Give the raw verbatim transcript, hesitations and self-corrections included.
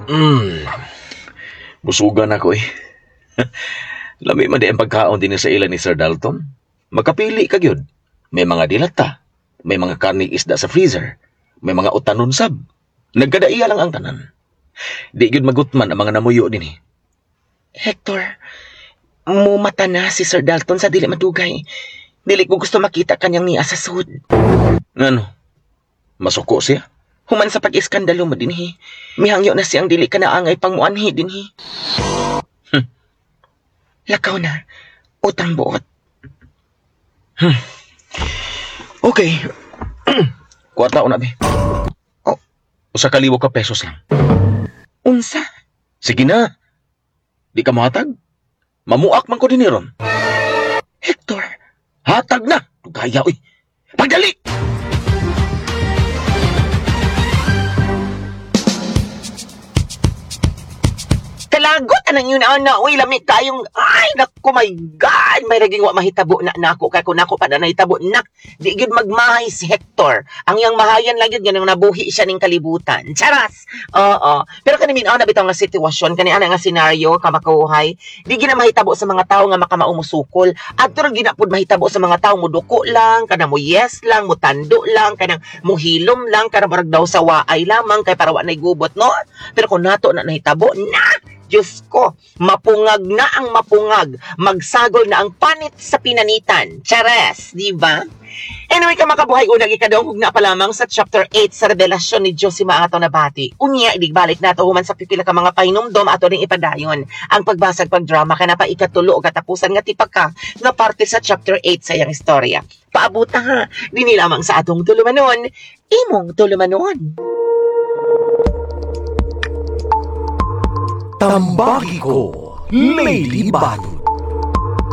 Mm. Busugan ako eh. Lami man di ang pagkaon din sa ila ni Sir Dalton. Makapili ka gyud. May mga dilata, may mga karning isda sa freezer, may mga utanon sab. Nagkadaiya lang ang tanan. Di gyud magutman ang mga namuyo dinhi. Hector, mumata na si Sir Dalton sa dili madugay. Dili ko gusto makita kanyang niya sa sud. Ngano? Masuko siya? Human sa pag-iskandalo mo dinhi. Mihangyo na siyang dili ka naangay pang muanhi dinhi. Hmm. Lakaw na. Utang buot. Okay. Kwarta una be. Oh. Usa ka libo ka pesos lang. Unsa? Sige na. Di ka mohatag? Mamuak man ko dinhi ron. Hector, Hatag na. Gaya uy. Pagdali! Kalagot anang yun ana uy lami kayong ay nako my god may raging wa mahitabo na nako kay kun nako pa na nahitabo nak di gyud magmahay si Hector. Ang iyang mahayan lang gyud ganang nabuhi siya ning kalibutan. Charas. Oo, pero kani min ana bitaw nga sitwasyon kani ana nga senaryo kamakuhay di gyud na mahitabo sa mga tawo nga makamao mosukol. Adto ra gyud na pud mahitabo sa mga tawo moduko lang kana mo yes lang motando lang kanang mohilom lang kanang murag daw sa waay lamang kay para wa nay gubot no. Pero kung nato na nahitabo na Diyos ko, mapungag na ang mapungag, magsagol na ang panit sa pinanitan. Chares, di ba? Anyway, kamakabuhay unang ikadungog na pa lamang sa chapter eight sa revelasyon ni Diyos si Maato Nabati. Unya, idigbalik nato human sa pipila ka mga pahinumdom ato ring ipadayon. Ang pagbasag pagdrama ka na pa ikatulo o katapusan nga tipaka nga parte sa chapter eight sa iyang istorya. Paabuta ha, dinhi lamang sa atong tulumanon, imong tulumanon. Tambagi ko, Lady Banton.